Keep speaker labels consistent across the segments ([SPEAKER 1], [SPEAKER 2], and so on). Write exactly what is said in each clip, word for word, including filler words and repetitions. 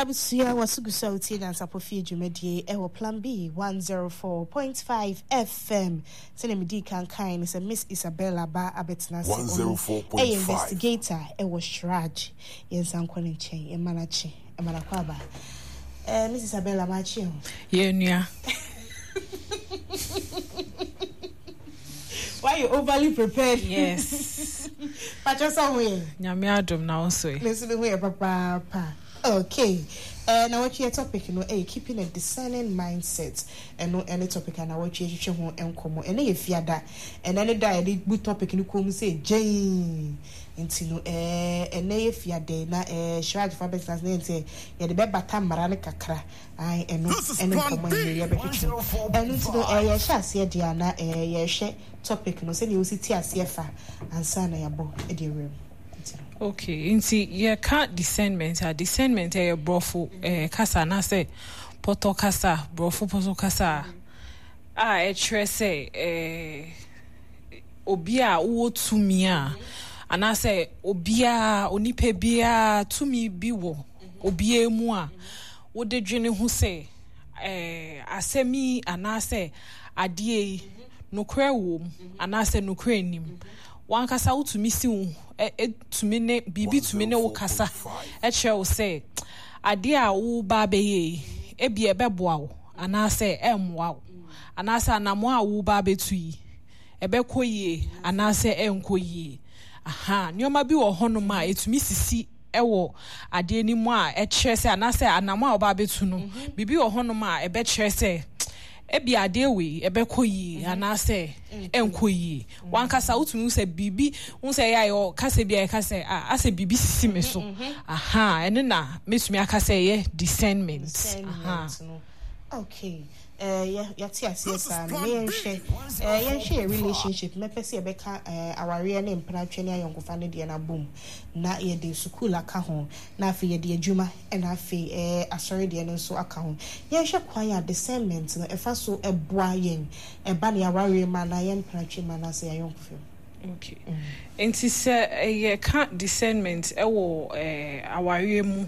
[SPEAKER 1] Abusua, waso gu so a wotie Nyansapɔ Fie dwumadie ɛwɔ Plan B one zero four point five F M. Sɛnea medii kan kan ne sɛ Miss Isabella ba abɛtena ase. Ɔno ɛyɛ
[SPEAKER 2] one zero four point five.
[SPEAKER 1] Investigator ɛwɔ CHRAJ. Yɛnsa nkɔ ne nkyɛn, ɛma no akye, ɛma no akɔ aba. eh, Miss Isabella, maakye ho.
[SPEAKER 3] Yɛ nua.
[SPEAKER 1] Why you overly prepared?
[SPEAKER 3] Yes.
[SPEAKER 1] Patro, sɛ ho yɛ?
[SPEAKER 3] Nyame adom, na wo nso ɛ?
[SPEAKER 1] Me nso me ho yɛ papaapa. Okay, uh, na wɔtwe yɛ topic no ɛyɛ keeping a discerning mindset. Ɛno ɛne topic a na wɔtwe twetwe ho nkɔmmɔ. Ɛnɛ yɛ Fiada, ɛnɛ ne da a yɛde bu topic no kɔn mu sɛ gyɛn. Nti no ɛɛ ɛnɛ yɛ Fiada na ɛɛ CHRAJ fa bɛtena ase na yɛn sɛ yɛde bɛbata mmara no kakra. Ayi, ɛno ɛne nkɔmmɔ yɛ yɛbɛtwetwe. Ɛno nti no ɛɛ yɛhyɛ aseɛ deɛ a na ɛɛ yɛhwɛ topic no sɛnea wosi te aseɛ fa ansa na yɛabɔ ɛde awura mu. Nti no.
[SPEAKER 3] Okay, nti yɛka discernment a, discernment ɛyɛ borɔfo eh, kasa anaasɛ pɔtɔ kasa, borɔfo pɔtɔ kasa a a ɛkyerɛ sɛ eh, obi a wowɔ tumi a anaasɛ obiara, onipa biara tumi bi wɔ obiara mu a wode dwene ho sɛ eh, asɛm yi anaasɛ adeɛ yi, nokorɛ wɔ mu anaasɛ nokorɛ nnim. Wankasa wotumi si wo ɛ ɛtumi ne biribi tumi ne wo kasa ɛkyerɛ wo sɛ adeɛ a woba abɛyɛ yi, ebi ɛbɛboa wo anaasɛ ɛmmoa wo, anaasɛ anammɔn a woba abɛtu yi, ɛbɛkɔ yie anaasɛ ɛnkɔ yie. Aha, nneɛma bi wɔ hɔnom a ɛtumi sisi ɛwɔ adeɛ no mu a ɛkyerɛ sɛ anaasɛ anammɔn a woba abɛtu no, biribi wɔ hɔnom a ɛbɛkyerɛ sɛ ebi adeɛ wei ɛbɛkɔ yie anaasɛ ɛnkɔ yie. Wankasa wotumi hu sɛ biribi hu sɛ ɛyɛ a yɛwɔ kasa bi a yɛka sɛ ah, asɛ biribi sisi me so. Aha, ɛno na mɛtumi aka sɛ ɛyɛ discernment. Aha.
[SPEAKER 1] Discernment no, okay, eh, yɛ yɛte aseɛ saa no, na yɛnhwɛ eh, yɛnhwɛ yɛ relationship. Mɛpɛ sɛ yɛbɛka eh, awareɛ ne mpenatwe ne ayɔnkofa no deɛ no abom, na yɛde sukuu aka ho, na afei yɛde adwuma, ɛna afei eh, asɔre deɛ no nso aka ho. Yɛnhwɛ kwan a discernment no ɛfa so ɛboa yɛn ɛba ne awareɛ mu anaa yɛn mpenatwe mu anaasɛ yɛn ayɔnkofa mu.
[SPEAKER 3] Okay, nti sɛ yɛka discernment ɛwɔ eh, awareɛ mu,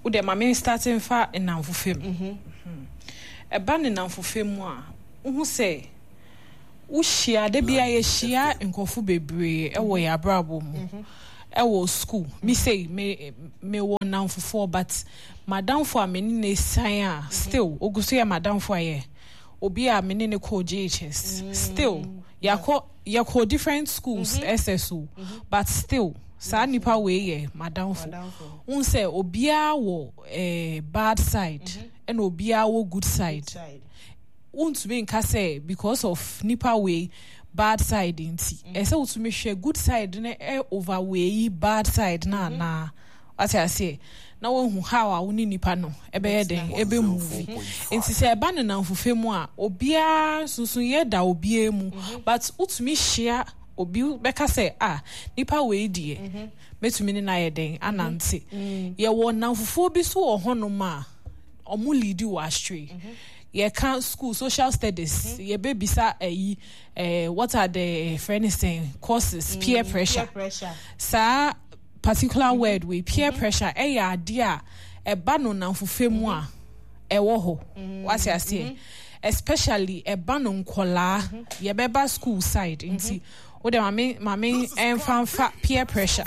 [SPEAKER 3] wode ma me start mfa nnamfofa mu. Ɛba ne nnamfofa mu a, wohu sɛ wohyia da bia, yɛhyia nkurɔfo bebree ɛwɔ yɛ abrabɔ mu, ɛwɔ school. Me sei, me mewɔ nnamfofoɔ, but madamfo a me ne ne san a still ogu so yɛ madamfo a yɛ obi a me ne ne kɔɔ J H S. Still yɛakɔ, yɛkɔ different schools, S S O, but still saa nipa wei yɛ madamfo. Wohu sɛ obiara wɔ eh, bad side, ɛna obiara wɔ good side.
[SPEAKER 1] Side.
[SPEAKER 3] Wontumi nka sɛ because of nipa wei bad side nti ɛsɛ wotumi hwɛ good side no ɛ over wei bad side no anaa. Wate aseɛ? Na woahu how a wo ne nipa no ɛbɛyɛ den, ɛbɛ move. Nti sɛ ɛba ne namfofa mu a, obiara nsonsonoeɛ da obiara mu, but wotumi hyia obi bɛka sɛ ah, nipa wei deɛ, mɛtumi ne no ayɛ den anante. Yɛwɔ namfofoɔ bi so wɔ hɔnom a ɔmo lead wɔ astray. Yɛka school social studies, yɛbɛbisa ɛyi eh, what are the friend saying causes peer pressure.
[SPEAKER 1] Peer pressure.
[SPEAKER 3] Saa particular word wei, peer pressure, ɛyɛ adeɛ a ɛba no namfofa mu a ɛwɔ hɔ. Wate aseɛ? Especially ɛba no nkɔlaa, yɛbɛba school side, nti wode maame maame ɛmfa mfa peer pressure.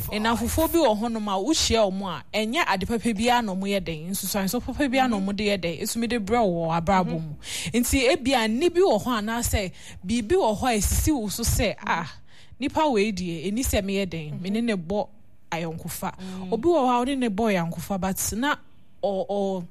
[SPEAKER 3] Nnamfofoɔ bi wɔ hɔnom a wohyia wɔn a, ɛnyɛ ade papa biara na wɔyɛ den, nsusuanso papa biara na wɔde yɛ den esumi de brɛ wɔ abrabɔ mu. Nti ebia nni bi wɔ hɔ anaasɛ biribi wɔ hɔ a esisi wo so sɛ ah, nipa wei deɛ, eni sɛ meyɛ den me ne ne bɔ ayɔnkofa. Obi wɔ hɔ a ɔne ne bɔ ayɔnkofa, but na ɔ ɔ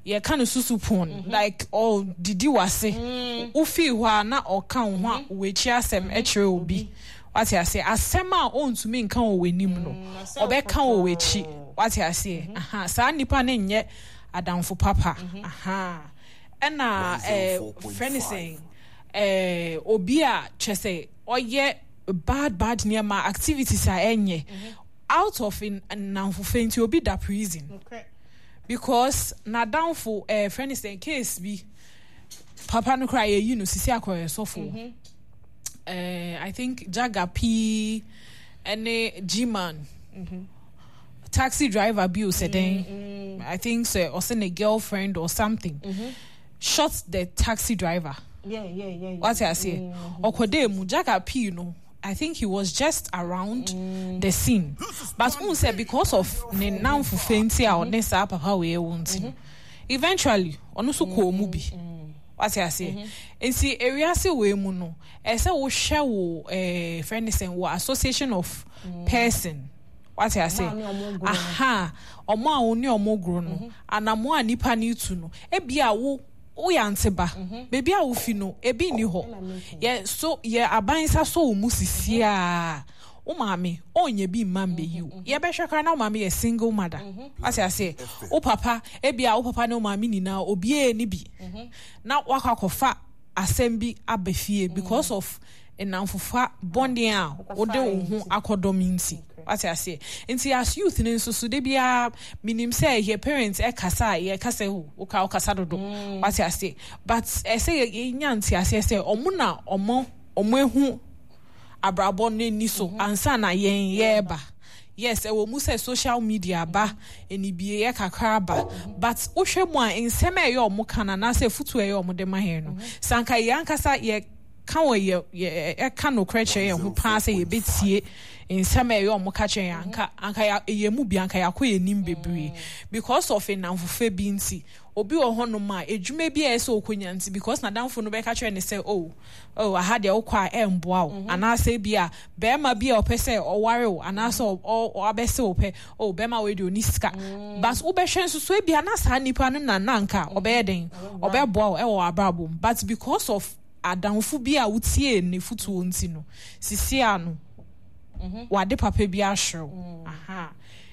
[SPEAKER 3] yɛka no susu pon, like ɔdidi wase, wofii hɔ a na ɔka wo ho a w'akyi asɛm kyerɛ obi. Wate aseɛ? Asɛm a ɔntumi nka wɔ w'anim no, ɔbɛka wɔ w'akyi. Wate aseɛ? Aha, saa nipa no nyɛ adamfo papa. Aha, ɛna ɛɛ frɛ ne sɛn, ɛɛ obi a kyerɛ sɛ ɔyɛ bad bad nneɛma, activities a ɛnyɛ out of nnamfofa nti obi da prison because n'adamfo ɛɛ frɛ ne sɛn, case bi, papa no koraa yɛyi no sisi akɔyɛ sɔfo. ɛɛ I think Jaga pii ɛne G-Man, taxi driver bi o, sɛ dɛn. I think sɛ ɔsɛ ne girlfriend or something shot the taxi driver.
[SPEAKER 1] Yeah, yeah, yeah, yeah.
[SPEAKER 3] Wate aseɛ? Ɔkɔdaa mu. Jack Apii no, I think he was just around the scene, but wohu sɛ because of ne nnamfofa nti a ɔne saa papa wei wɔ nti no, eventually ɔno nso kɔɔ mu bi. Wate aseɛ? Nti ewiase wei mu no, ɛsɛ wohwɛ wo eh, frɛ ne sɛn, wo association of person. Wate aseɛ?
[SPEAKER 1] Ɔmo a ne ɔmo goro no.
[SPEAKER 3] Aha, ɔmo a wo ne ɔmo goro no, anamoa a nipa no tu no, ebia wo woyɛ ante ba, beebi a wofi no ebi nni hɔ.
[SPEAKER 1] Ɛna meka.
[SPEAKER 3] Yɛ so yɛ aban nsa so wo mu sisi a, wo maame ɔnyɛ bi mma mbɛyi wo. Yɛbɛhwɛ koraa na wo maame yɛ single mother. Wate aseɛ? Wo papa, ebia wo papa ne wo maame nyinaa obiara ni bi na wakɔ akɔfa asɛm bi aba fie because of nnamfofa bɔne a wode wo ho akɔdɔm nti. Wate aseɛ? Nti as youth no nso so, de biara menim sɛ yɛ parents ɛkasa a, yɛka sɛ o woka wokasa dodo. Wate aseɛ? But ɛsɛ yɛ yɛnya nte aseɛ sɛ ɔmo na ɔmo ɔmo ehu abrabɔ no ani so ansa na yɛn yɛreba. Yes, ɛwɔ mu sɛ social media ba enibie yɛ kakra aba, but wohwɛ mu a, nsɛm a ɛyɛ ɔmo ka no anaasɛ futu a ɛyɛ ɔmo de ma yɛn no, sanka yɛn ankasa yɛ ka wɔ yɛ yɛ ɛka nokorɛ kyerɛ yɛn ho paa sɛ yɛbɛtie nsɛm a ɛyɛ ɔmo ka kyerɛ yɛn, anka anka yɛ ɛyɛ mu bi anka yɛakɔ yɛn nim bebree. Because of nnamfofa bi nti, obi wɔ hɔnom a edwuma bi a ɛsɛ okonya nti, because n'adamfo no bɛka kyerɛ ne sɛ, oh oh aha deɛ wokɔ a ɛmboa wo, anaasɛ bi a bɛrima bi a ɔpɛ sɛ ɔware wo anaasɛ ɔabɛsɛ wo pɛ, oh, bɛrima wei deɛ ɔni sika, but wobɛhwɛ nso so ebi a na saa nipa no na nanka ɔbɛyɛ den ɔbɛboa wo ɛwɔ abrabɔ mu, but because of adamfo bi a wotie ne fotuo nti no, sisi ano wade papa bi ahyew. Aha,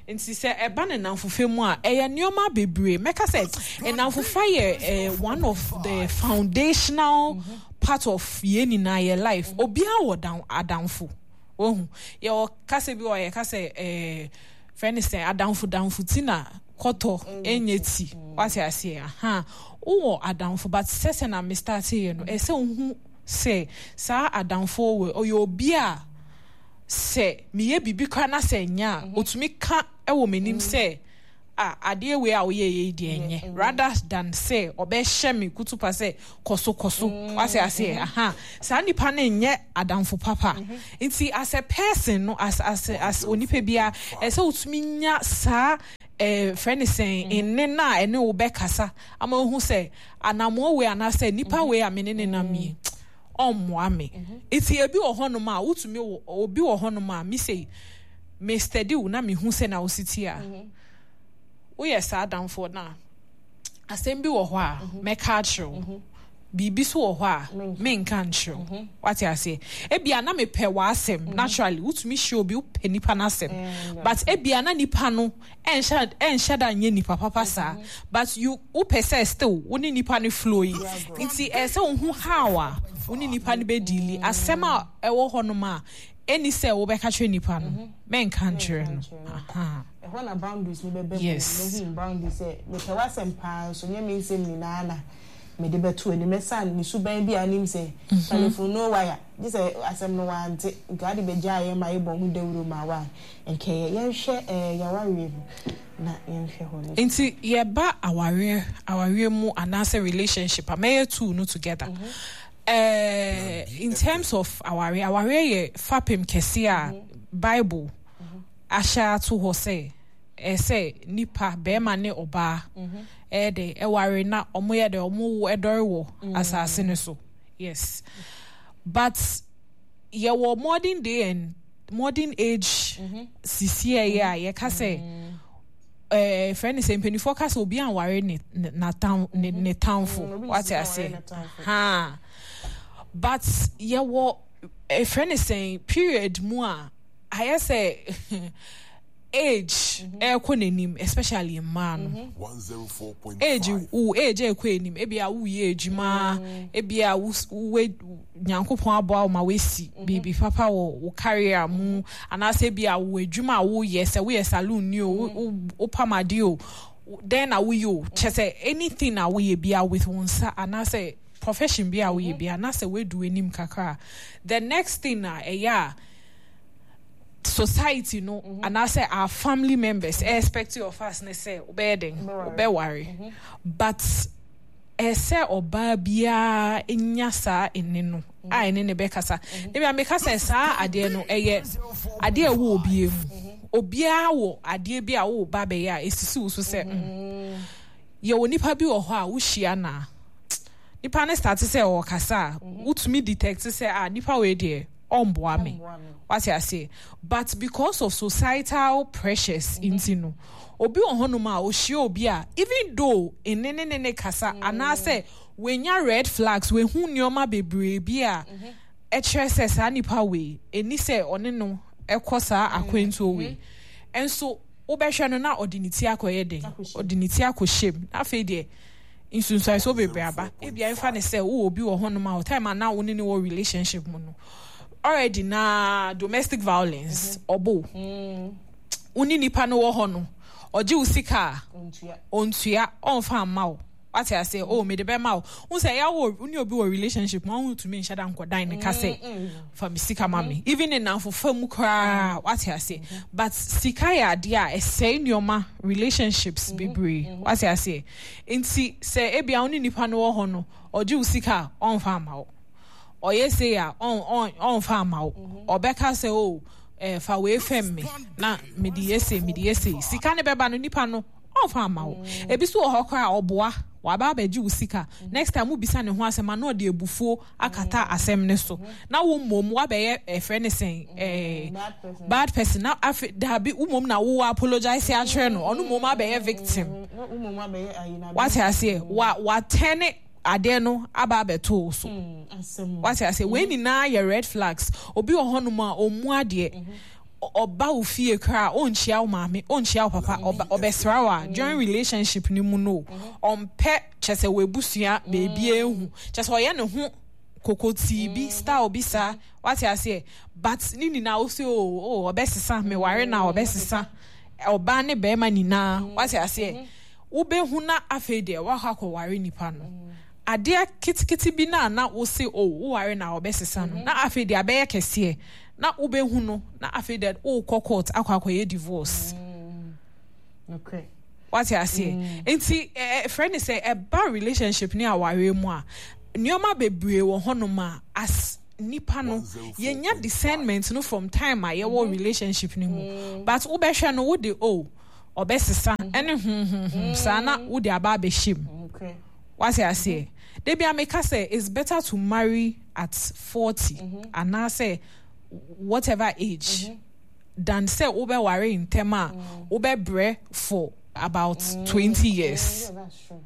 [SPEAKER 3] nti sɛ ɛba ne namfofa mu a, ɛyɛ nneɛma bebree. Mɛka sɛ nnamfofa yɛ eh, one of the foundational part of yɛn nyinaa yɛ life. Obiara wɔ dan adamfo. Ohu yɛwɔ kasa bi wɔ yɛ kasa ɛɛ fɛn ne sɛ adamfo damfo ti na kɔtɔ ɛnyɛ ti. Wate aseɛ? Aha, wowɔ adamfo, but sɛ sɛ na me start yɛ no, ɛsɛ ohu sɛ saa adamfo wɔ ɔyɛ obi a sɛ meyɛ biribi koraa na sɛ nyɛ a, otumi ka ɛwɔ m'anim sɛ a adeɛ wei a woyɛ yɛ yi deɛ nyɛ, rather than sɛ ɔbɛhyɛ me kutupa sɛ kɔ so kɔ so. Wate aseɛ? Aha, saa nipa no nyɛ adamfo papa. Nti as a person no, as as as onipa bia, ɛsɛ wotumi nya saa ɛɛ frɛ ne sɛn, nne na ɛne wo bɛkasa ama ohu sɛ anamoɔ wei anaasɛ nipa wei a me ne ne nam yi ɔmmoa me. Nti ebi wɔ hɔnom a wotumi wɔ obi wɔ hɔnom a mi sɛ me steady wo na mehu sɛ na wosi ti a woyɛ saa adamfoɔ no a, asɛm bi wɔ hɔ a mɛka akyerɛ wo, biribi so wɔ hɔ a menka nkyerɛ wo. Wate aseɛ? Ebia na mepɛ w'asɛm. Naturally wotumi hyia obi, wopɛ nipa n'asɛm, but ebia na nipa no ɛnhyɛ ɛnhyɛ da nyɛ nipa papa saa, but you wopɛ sɛ still wo ne nipa no flow yi. Nti ɛsɛ wohu how a wo ne nipa no bɛdeal. Asɛm a ɛwɔ hɔnom a ɛni sɛ wobɛka kyerɛ nipa no, mɛnka nkyerɛ no. Aha.
[SPEAKER 1] Ɛhɔ na boundaries ni bɛbɛ mu.
[SPEAKER 3] Yes.
[SPEAKER 1] Mehu boundaries sɛ mepɛ w'asɛm paa nso nyɛ me nsɛm nyinaa na mede bɛto anim, ɛsan ne suban bi a anim sɛ telephone no wire gye sɛ asɛm no wante nka ade bɛgya yɛ ma yɛbɔ ho dawuro ma wa nkɛyɛ. Yɛnhwɛ ɛɛ yɛawareɛ mu na yɛnhwɛ hɔ no.
[SPEAKER 3] Nti yɛba awareɛ awareɛ mu anaasɛ relationship a, mɛyɛ two no together. uh, in terms of awareɛ, awareɛ yɛ fapem kɛse a Bible ahyɛ ato hɔ sɛ ɛsɛ nipa bɛrima ne ɔbaa ɛyɛ de ɛware na ɔmo yɛ de ɔmo wo ɛdɔre wɔ asase no so. Yes, but yɛwɔ modern day and modern age sisi ɛyɛ a yɛka sɛ ɛɛ fɛn ne sɛ mpanyinfoɔ ka sɛ obi anware ne ne n'atam ne ne tamfo.
[SPEAKER 1] Mm, obi
[SPEAKER 3] wate
[SPEAKER 1] nsi
[SPEAKER 3] aseɛ?
[SPEAKER 1] anware ne tamfo.
[SPEAKER 3] Ha, but yɛwɔ ɛfrɛ ne sɛn period mu a ayɛ sɛ age ɛrekɔ n'anim, especially mmaa no. Age wo age ɛrekɔ anim, ebi a woyɛ adwuma, ebi a wo wo Nyankopɔn aboa wo ma woasi biribi papa wɔ wo career mu, anaasɛ ebi a wo adwuma a woyɛ, sɛ woyɛ saloon ni o, wo wo wopam adeɛ o, dɛn na woyɛ o, kyɛ sɛ anything a woyɛ bia with wo nsa anaasɛ profession bi a woyɛ bia, anaasɛ woadu anim kakra a, the next thing a ɛyɛ a Society no anaasɛ our family members expect of us ne sɛ wobɛyɛ den, wobɛware, but ɛsɛ ɔbaa biara nya saa ɛne no a ɛne ne bɛkasa. Ebi a meka sɛ saa adeɛ no ɛyɛ adeɛ a ɛwɔ obiara mu. Obiara wɔ adeɛ bi a wɔwɔ ba bɛyɛ a esisi wo so sɛ mm yɛwɔ nipa bi wɔ hɔ a wohyia na nipa ne start sɛ ɔkasa a, wotumi detect sɛ, ah, nipa wei deɛ, ɔmboa me. Wate ase? But because of societal pressures nti no, obi wɔ hɔnom a ohyia obi a, even though ene ne ne ne kasa anaasɛ wenya red flags, wehu nneɛma bebree bi a ɛkyerɛ sɛ saa nipa wei eni sɛ ɔne no ɛkɔ saa akwantuo wei, ɛnso wobɛhwɛ no na ɔde ne ti akɔyɛ den, ɔde ne ti akɔhyɛ mu. Na afei deɛ, nsunsuansoɔ bebree aba. Ebia nfa ne sɛ wowɔ obi wɔ hɔnom a, time a na wo ne ne wɔ relationship mu no, already na domestic violence ɔbo wo ne nipa no wɔ hɔ no, ɔgye wo sika a ontua, ɔnfa mma wo. Wate ase? O mede bɛma wo. Wo sɛ ɛyɛ wo ne obi wɔ relationship mu, ɔho tumi nhyɛ da nkɔdan ne ka sɛ fa me sika ma me, even ne namfofa mu koraa. Wate ase? But sika yɛ adeɛ a ɛsɛe nneɛma, relationships bebree. Wate ase? Nti sɛ ebia wo ne nipa no wɔ hɔ no, ɔgye wo sika a, ɔnfa ama wo, ɔyɛ sei a, ɔnfa ama wo, ɔbɛka sɛ o eh, fa wei fɛm me na mede yɛ sei, mede yɛ sei, sika ne bɛba no, nipa no ɔnfa ama wo. Ebi so wɔ hɔ koraa, ɔboa waba abɛgye wo sika, next time wobisa ne ho asɛm a, na ɔde abufuo akata asɛm ne so, na wo mmom wabɛyɛ ɛfrɛ ne sɛn, ɛɛ bad person. Na afei daabi, wo mmom na wo apologize akyerɛ no, ɔno mmom abɛyɛ victim. Wate aseɛ? Wa watɛne adeɛ no aba abɛto wo so. Wate aseɛ? Wei nyinaa yɛ red flags. Obi wɔ hɔnom a ɔmmu adeɛ, ɔba wo fie koraa, ɔnkyia wo maame, ɔnkyia wo papa, ɔbɛsra wo a, during relationship ni mu no, ɔmpɛ kyɛ sɛ wɔabusua beebi ehu kyɛ sɛ ɔyɛ ne ho kokotii bi, style bi saa. Wate aseɛ? But ne nyinaa wo sɛ o o ɔbɛsesa, meware na ɔbɛsesa, ɔbaa ne bɛrima nyinaa. Wate aseɛ? Wobɛhu na afei deɛ wakɔ akɔware nipa no, adeɛ ketekete bi na na wo se o woware na ɔbɛsesa no, na afei deɛ abɛyɛ kɛseɛ, na wobɛhu no na afei deɛ wokɔ court akɔ akɔyɛ divorce. Wate aseɛ? Nti ɛfrɛ ne sɛ ɛba relationship ne awareɛ mu a, nneɛma bebree wɔ hɔnom a as nipa no yɛnya discernment no from time a yɛwɔ relationship no mu. But wobɛhwɛ no, wode o ɔbɛsesa ɛne huhuhu saa na wode aba abɛhyɛ mu. Wate aseɛ? Debi a meka sɛ it's better to marry at forty anaasɛ whatever age than sɛ wobɛware ntɛm a wobɛbrɛ for about twenty years.
[SPEAKER 1] Yeah, that's true.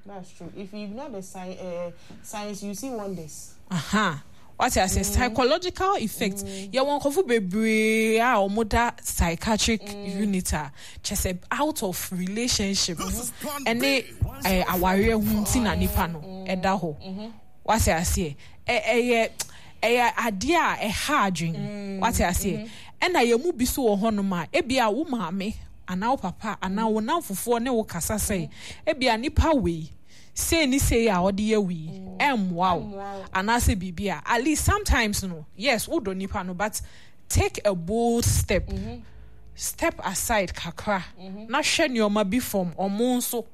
[SPEAKER 1] That's true. If you ignore the sign, uh, signs, you see wonders.
[SPEAKER 3] Aha. Wate ase? Psychological effect. Yɛwɔ nkɔfo bebree a wɔn da psychiatric unit a kyɛ sɛ out of relationship ɛne ɛɛ awareɛ ho nti na nipa no ɛda hɔ. Wate aseɛ? Ɛ ɛyɛ ɛyɛ adeɛ a ɛha adwene. Wate aseɛ? Ɛna yɛn mu bi so wɔ hɔnom a, ebia wo maame anaa wo papa anaa wo namfofoɔ ne wo kasa sɛ ebia nipa wei sei ne sei a ɔde yɛ wei ɛmmoa wo anaasɛ biribi a, at least sometimes no, yes, wodɔ nipa no, but take a bold step, step aside kakra na hwɛ nneɛma bi from ɔmo nso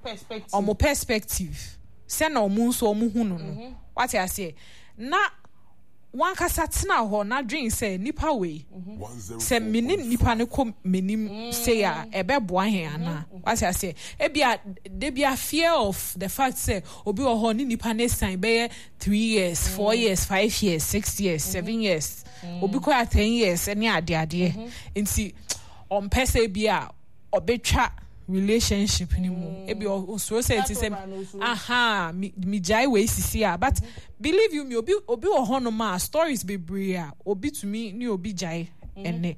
[SPEAKER 3] ɔmo perspective, sɛ na ɔmo nso ɔmo hu no no Wate aseɛ? Na wankasa tena hɔ na dwen sɛ nipa wei, sɛ me ne nipa no kɔ m'anim sei a, ɛbɛboa hɛn anaa? Wate aseɛ? Ebia debia fear of the fact sɛ obi wɔ hɔ ne nipa no esan bɛyɛ three years, four years, five years, six years, seven years, obi kɔ a ten years ne adeadeɛ nti ɔmpɛ sɛ ebi a ɔbɛtwa relationship ni mu. Ebi osuro sɛ ti sɛ aha mi mi gyae wei sisi a. But believe you me, obi obi wɔ hɔnom a, stories bebree a obi tumi ne obi gyae ɛnɛ,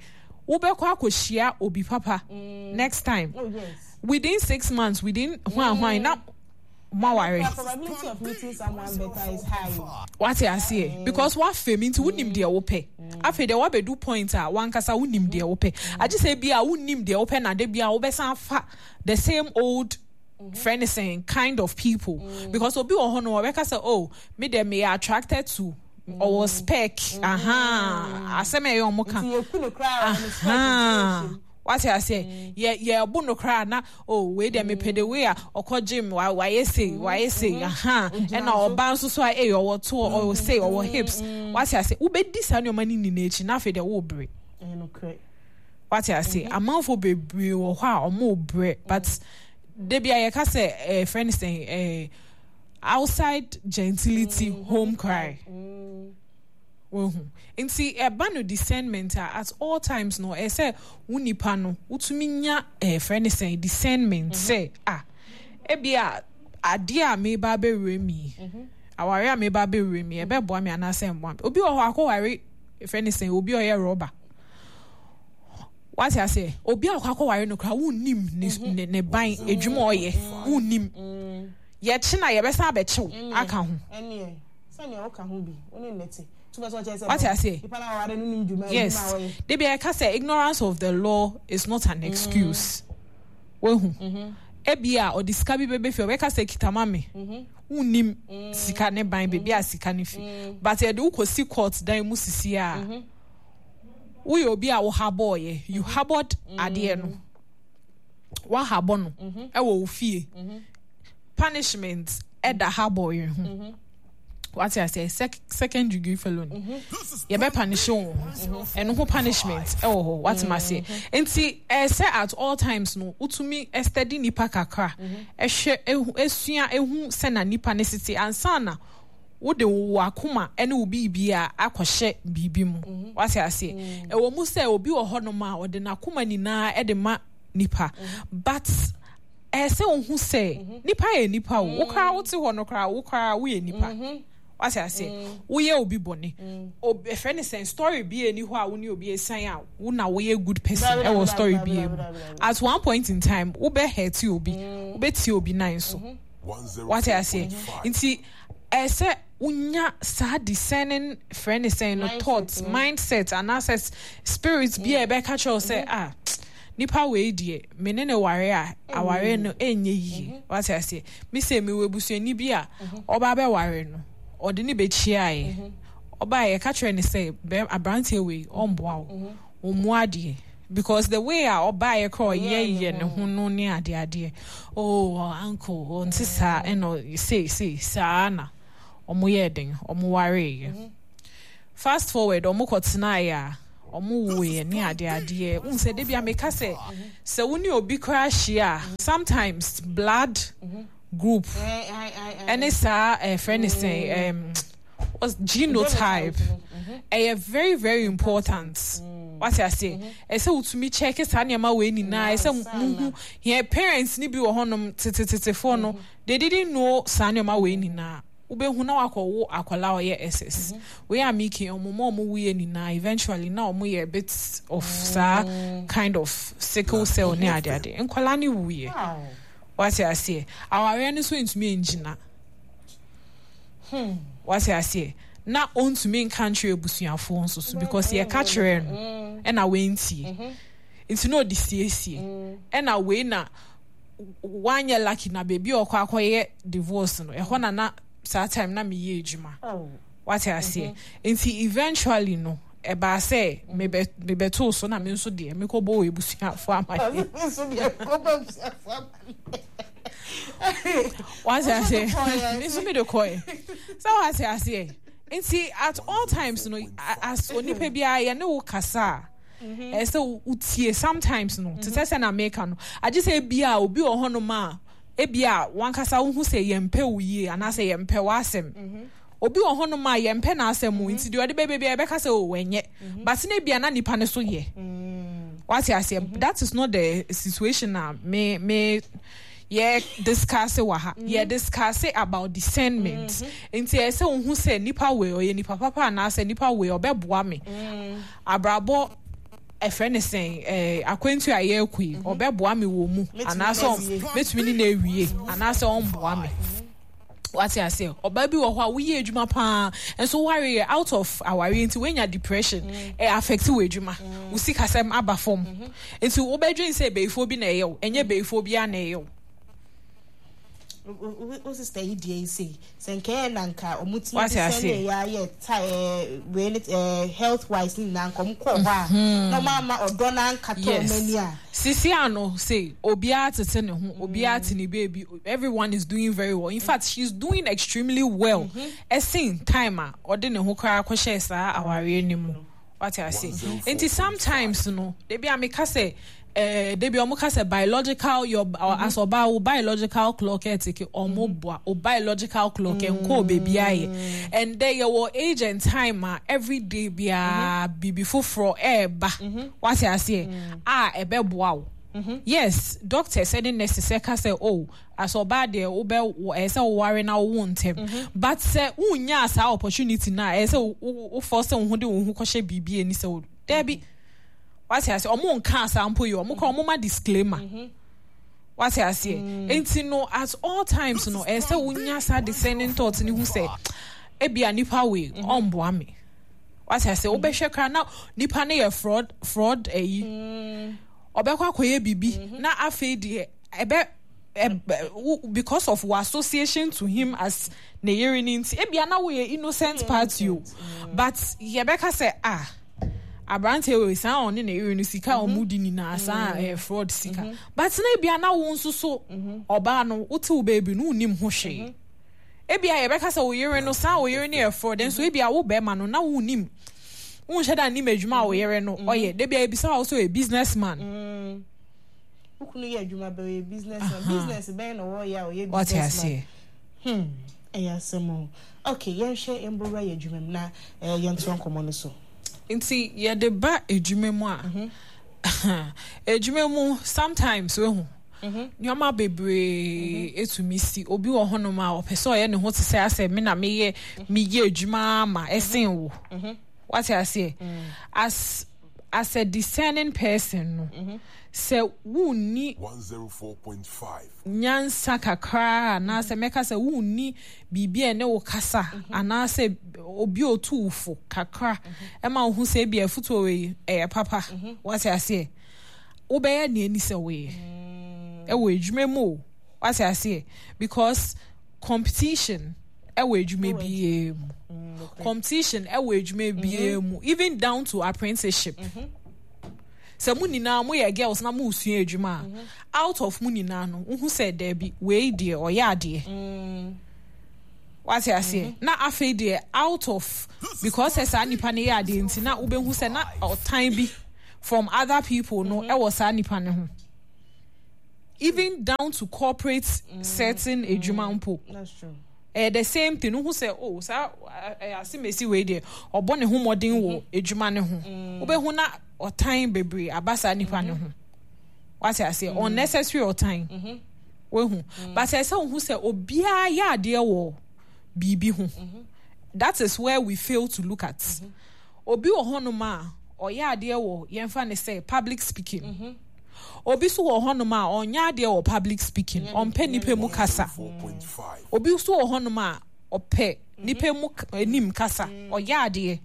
[SPEAKER 3] wobɛkɔ akɔhyia obi papa next time.
[SPEAKER 1] Oh yes.
[SPEAKER 3] Within six months, within hwan hwan na moaware.
[SPEAKER 1] The probability of meeting someone better is high.
[SPEAKER 3] Wate aseɛ? Because wafam nti wonim deɛ wopɛ. Afei deɛ wabɛdu point a wankasa wonim deɛ wopɛ, agye sɛ bi a wonim deɛ wopɛ na de bi a wobɛsan afa the same old friend same kind of people, because obi wɔ hɔ no, ɔbɛka sɛ, oh, me deɛ, meyɛ attracted to Ɔwɔ spec. Aha, asɛm a ɛyɛ ɔmo ka.
[SPEAKER 1] Nti yɛku no koraa, ɔno spec.
[SPEAKER 3] Aha, wate aseɛ? Yɛ yɛbo no koraa na, oh, wei deɛ mepɛ de wei a ɔkɔ gym, wa wayɛ sei, wayɛ sei. Aha, ɛna ɔbaa nso so a, ɛyɛ ɔwɔ to, ɔwɔ sei, ɔwɔ hips, wate aseɛ? Wobɛdi saa nneɛma no nyinaa akyi na afei deɛ wɔɔbrɛ.
[SPEAKER 1] Ɛyɛ nokorɛ.
[SPEAKER 3] Wate aseɛ? Amanfoɔ bebree wɔ hɔ a ɔmo brɛ, but debi a yɛka sɛ ɛɛ friend sɛn, ɛɛ outside gentility, home cry. Wohu? Nti ɛba no discernment a, at all times no, ɛsɛ wo nipa no wotumi nya ɛɛ frɛ ne sɛn, discernment sɛ, ah, ebi a adeɛ a meba abɛwura mi yi, aware a meba abɛwura mi yi, ɛbɛboa me anaasɛ mboa me? Obi wɔ hɔ akɔware, frɛ ne sɛn, obi a ɔyɛ rɔba, wate aseɛ? Obi a ɔkɔ akɔware no koraa, wonnim ne ne ne ban edwuma a ɔyɛ, wonnim. Yɛkye na yɛbɛsan abɛkyew aka ho.
[SPEAKER 1] Ɛneɛ sɛnea woka ho bi, wo ne nnɛte tu bɛ sɛ ɔkyerɛ sɛ
[SPEAKER 3] Wate aseɛ?
[SPEAKER 1] Nipa no aware no nim dwuma
[SPEAKER 3] yes
[SPEAKER 1] adwuma a wɔyɛ.
[SPEAKER 3] Debi a yɛka sɛ ignorance of the law is not an excuse. Wehu? Ebi a ɔde sika bi bɛbɛ fie, ɔbɛka sɛ kita ma me, wonnim sika ne ban, beebi a sika ne fi, but yɛde wokɔsi court dan mu sisi a, woyɛ obi a wo habɔɔyɛ, you harbored adeɛ no, wahabɔ no ɛwɔ wo fie. Punishment ɛda habɔɔyɛ ho, wate aseɛ? Sec second degree felony, yɛbɛ punish wo ho, ɛno ho punishment ɛwɔ hɔ, wate ma aseɛ? Nti ɛsɛ at all times no wotumi study nipa kakra, ɛhwɛ, ehu, esua, ehu sɛ na nipa ne sisi ansa na wode wo akoma ɛne wo biribi a akɔhyɛ biribi mu, wate aseɛ? Ɛwɔ mu sɛ obi wɔ hɔnom a ɔde n'akoma nyinaa ɛde ma nipa, but ɛsɛ ohu sɛ nipa yɛ nipa o. Wo koraa wote hɔ no koraa, wo koraa woyɛ nipa, wate aseɛ? Woyɛ obi bɔne, obi ɛfrɛ ne sɛn, story bi ani hɔ a wo ne obi esan a wo na woyɛ good person ɛwɔ story bi mu. At one point in time wobɛ hurt obi, wobɛtie obi nan so, wate aseɛ? Nti ɛsɛ wonya saa discerning, frɛ ne sɛn no, thoughts, mindset anaasɛ spirit bi a ɛbɛka kyerɛ wo sɛ, ah, nipa wei deɛ, me ne ne ware a, aware no ɛnyɛ yie, wate aseɛ? Me sɛ mewɔ abusuani bi a ɔba bɛware no, ɔde ne bɛkyiaeɛ, ɔbaa yɛka kyerɛ ne sɛ bɛm aberanteɛ wei ɔmboa wo, ɔmmu adeɛ, because the way a ɔbaeɛ korɔ ɔyɛ yɛ ne ho no ne adeadeɛ, oh uncle, ɔnte saa, ɛna sei sei saa na ɔmo yɛ den, ɔmo wareeɛ. Fast forward, ɔmo kɔtenaeɛ a ɔmo woeɛ ne adeadeɛ, wohu sɛ debi a meka sɛ sɛ wo ne obi koraa hyia a, sometimes blood group ɛne saa ɛfrɛ ne sɛn, ɛm what's genotype, ɛyɛ very very important, wate aseɛ? Ɛsɛ wotumi check saa nneɛma wei nyinaa. Ɛsɛ muhu yɛn parents ni bi wɔ hɔnom tetetetefoɔ no, they didn't know saa nneɛma wei nyinaa. Wobɛhu na wakɔwo akwadaa a ɔyɛ S S wei a miki, ɔmo ma ɔmo wuyɛ nyinaa, eventually na ɔmo yɛ a bit of saa kind of sickle cell ne adeade, nkwadaa ne wuyɛ, wate aseɛ? Awareɛ no nso ntumi ngyina, wate aseɛ? Na ɔntumi nka nkyerɛ abusuafoɔ nso so because yɛka kyerɛ no ɛna wentie, nti na ɔde siesie. Ɛna wei na wanyɛ lucky na beebi a ɔkɔ akɔyɛ divorce no, ɛhɔ na na saa time na meyɛ adwuma, wate aseɛ? Nti eventually no ɛbaa sɛ mebɛ mebɛtoo so na me nso deɛ mekɔbɔ wɔ ebusuafoɔ amaneɛ.
[SPEAKER 1] Nso deɛ kɔbɔ abusuafoɔ amaneɛ.
[SPEAKER 3] Wate aseɛ? Me nso mede kɔɛ sɛ, wate aseɛ? Nti at all times no, as onipa biara yɛne wo kasa a, ɛsɛ sɛ wotie. Sometimes no, te sɛ sɛ na meka no, agye sɛ ebia obi wɔ hɔnom a ebia wankasa wohu sɛ yɛmpɛ wo yie anaasɛ yɛmpɛ w'asɛm. Obi wɔ hɔnom a yɛmpɛ n'asɛm o, nti deɛ ɔde bɛbɛ bia yɛbɛka sɛ o, ɛnyɛ, but ne bia na nipa ne so yɛ, wate aseɛ? That is not the situation a me me yɛ discuss wɔ ha. Yɛ discuss about discernment, nti ɛsɛ wohu sɛ nipa wei ɔyɛ nipa papa anaasɛ nipa wei ɔbɛboa me abrabɔ, ɛfrɛ ne sɛn, ɛɛ akwantu a yɛrekɔ yi, ɔbɛboa me wɔ mu anaasɛ mɛtumi ne na ewie anaasɛ ɔmboa me, wate aseɛ? Ɔbaa bi wɔ hɔ a woyɛ adwuma paa nso ware yɛ out of aware, nti woanya depression, ɛ affect wɔ adwuma, wo sikasɛm aba fam, nti wobɛdwen sɛ bɛyifoɔ bi na ɛyɛ wo. Ɛnyɛ bɛyifoɔ biara na ɛyɛ wo.
[SPEAKER 1] Wo sister yi deɛ yi sei sɛ nkɛyɛ na nka ɔmo tumi
[SPEAKER 3] Wate
[SPEAKER 1] de sɛ
[SPEAKER 3] aseɛ.
[SPEAKER 1] ne yɛ ayɛ ta ɛɛ wei ne ɛɛ health wise ne nyinaa nka ɔmo kɔɔ hɔ a na ɔmo ama ɔdɔ na ankatɔ ɔmo ani a.
[SPEAKER 3] Sisi ano say obiara tete ne ho, obiara te ne baby, everyone is doing very well. In fact, she's doing extremely well. Ɛsen time a ɔde ne ho koraa kɔhyɛ saa awareɛ no mu. Wate ase? Nti sometimes no, debi a meka sɛ eh, debi ɔmo ka sɛ biological your mm-hmm. as ɔbaa wo biological clock ɛteke ɔmo boa o biological clock ɛnkɔ beebi ayɛ, and then yɛwɔ age and time a every day biara biribi foforɔ ɛɛba. Wate aseɛ? A ɛbɛboa wo. Yes, doctors ɛne nurses ɛka sɛ, oh, as ɔbaa deɛ wobɛ ɛyɛ sɛ woware na wowo ntɛm, but sɛ wonyaa saa opportunity na ɛyɛ sɛ wofɔ sɛ wo ho de wo ho kɔhyɛ biribi ani sɛ wo daabi. Wate aseɛ? Ɔmo nka saa mpo yi, ɔmo kɔ ɔmo ma disclaimer. Wate aseɛ? Nti no at all times no, ɛyɛ sɛ wonya saa discerning thought ne ho sɛ ebia nipa wei ɔmboa me. Wate aseɛ? Wobɛhwɛ koraa na nipa no yɛ fraud fraud ɛyi ɔbɛkɔ akɔyɛ biribi na afei deɛ ɛbɛ ɛbɛ wo- because of wo association to him as ne yere ne nti, ebia na woyɛ innocent party o, but yɛbɛka sɛ, ah, aberanteɛ wei saa ɔne ne yere no sika a ɔmo di nyinaa saa ɛyɛ fraud sika, but na ebia na wo nso so ɔbaa no wote wo baabi no wonim ho hwee. Ebia yɛbɛka sɛ wo yere no saa wo yere no yɛ fraud nso, ebia wo bɛrima no na wonim wonhyɛ da nim adwuma a wo yere no ɔyɛ. Debia ebisa wo sɛ ɔyɛ business man.
[SPEAKER 1] Wo kunu yɛ adwuma bɛ, ɔyɛ business man, business bɛn na wɔyɛ a ɔyɛ
[SPEAKER 3] Wate
[SPEAKER 1] business man?
[SPEAKER 3] aseɛ?
[SPEAKER 1] hmm ɛyɛ asɛm o. Okay, yɛnhwɛ mbɔwura yɛ adwuma mu na ɛɛ yɛntoa nkɔmɔ no so.
[SPEAKER 3] Nti yɛde ba adwuma mu a, adwuma mu sometimes wehu nneɛma bebree etumi si. Obi wɔ hɔnom a ɔpɛ sɛ ɔyɛ ne ho te sɛ asɛ me na meyɛ meyɛ adwuma ama ɛsen wo. Wate aseɛ? as as a discerning person no, sɛ wunni
[SPEAKER 2] one oh four point five.
[SPEAKER 3] nyansa kakra anaasɛ mɛka sɛ wunni biribi a ɛne wo kasa anaasɛ obi a otu wo fo kakra ɛma wo ho sɛ ebi afutuo wei ɛyɛ papa. Wate aseɛ? Wobɛyɛ nea ani sɛ woyɛ ɛwɔ adwuma mu o. Wate aseɛ? Because competition ɛwɔ adwuma biara mu, competition ɛwɔ adwuma biara mu, even down to apprenticeship. Sɛ mo nyinaa moyɛ girls na mo sua adwuma a, out of mo nyinaa no, wohu sɛ daabi, wei deɛ ɔyɛ adeɛ. Wate aseɛ? Na afei deɛ out of because sɛ saa nipa no yɛ adeɛ nti na wobɛhu sɛ na ɔtan bi from other people no ɛwɔ saa nipa no ho, even down to corporate setting adwuma mpo.
[SPEAKER 1] That's true.
[SPEAKER 3] Ɛyɛ the same thing. Wohu sɛ, oh, saa ɛyɛ asemesi wei deɛ ɔbɔ ne ho mmɔden wɔ adwuma ne ho, wobɛhu na ɔtan bebree aba saa nipa ne ho. Wate aseɛ? Unnecessary ɔtan wehu, but ɛsɛ wohu sɛ obiara yɛ adeɛ wɔ biribi ho. That is where we fail to look at. Obi wɔ hɔnom a ɔyɛ adeɛ wɔ, yɛmfa ne sɛ, public speaking. Obi nso wɔ hɔnom a ɔnyɛ adeɛ wɔ public speaking, ɔmpɛ nipa mu kasa.
[SPEAKER 2] four point five.
[SPEAKER 3] Obi nso wɔ hɔnom a ɔpɛ nipa mu k- anim kasa, ɔyɛ adeɛ,